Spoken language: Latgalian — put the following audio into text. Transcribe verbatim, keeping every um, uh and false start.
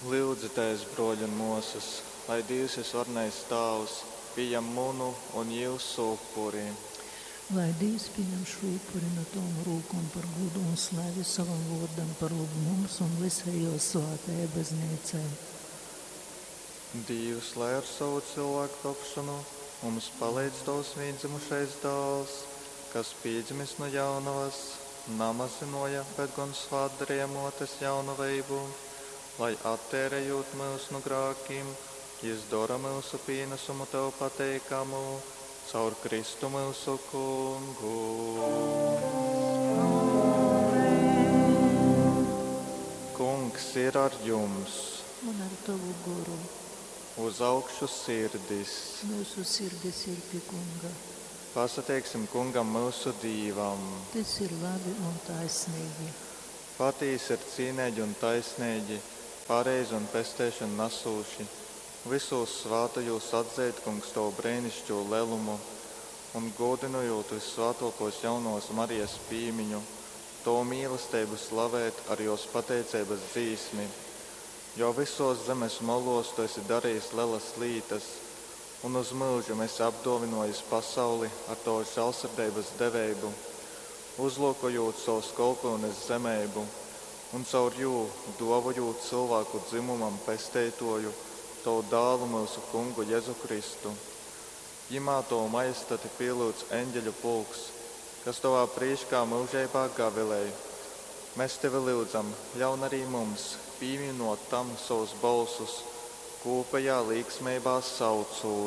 Lyudzitēs, brōļi un mōsas, lai Dīvs vysvarenais Tāvs pījam munu un jyusu upuri. Lai Dīvs pieņem šo upuri no tavom rūkom par godu un slavi savam vōrdam, par labu mums un visai jō svātajai baznīcai. Dīvs, lai ar savu cilvēku tapšanu mums palīdz Tavs vīndzimušais dāls, kas pīdzimis no jaunavas, namazinoja, bet gan svātdarīja mōtes jaunaveibu, lai attērējot mūs no grākiem, jis dora mūsu pīnesumu Tev pateikamu, caur Kristu mūsu kungu. Kungs ir ar jums! Un ar tavu goru. Uz augšu sirdis! Mūsu sirdis ir pie kunga. Pasateiksim kungam mūsu Dīvam. Tas ir labi un taisnīgi. Patīsi ir cīnīgi un taisnīgi, pareizi un pesteišanu nesūši. Visos svātajos atzeit, kungs, tavu brēnišķo lelumu un godinojot vissvātokos jaunos Marijas pīmiņu, tavu mīlestību slavēt ar jos pateiceibas dzīsmi. Jo visos zemes molos tu esi darījis lielas lītas, un uz mūžu esi apdovinojis pasauli ar tavu žēlsirdības deveibu, uzlūkojot savus kolpones zemeibu, un caur jū dovojot cilvēku dzimumam pesteitoju, tavu dālu mūsu kungu Jēzu Kristu. Jimā tavu majestati pielūdz eņģeļu pulks, kas tavā prīškā mūžībā gavilēj. Mēs tevi lūdzam, ļaun arī mums, pieminot tam savus balsus, kopējā līksmībā saucot.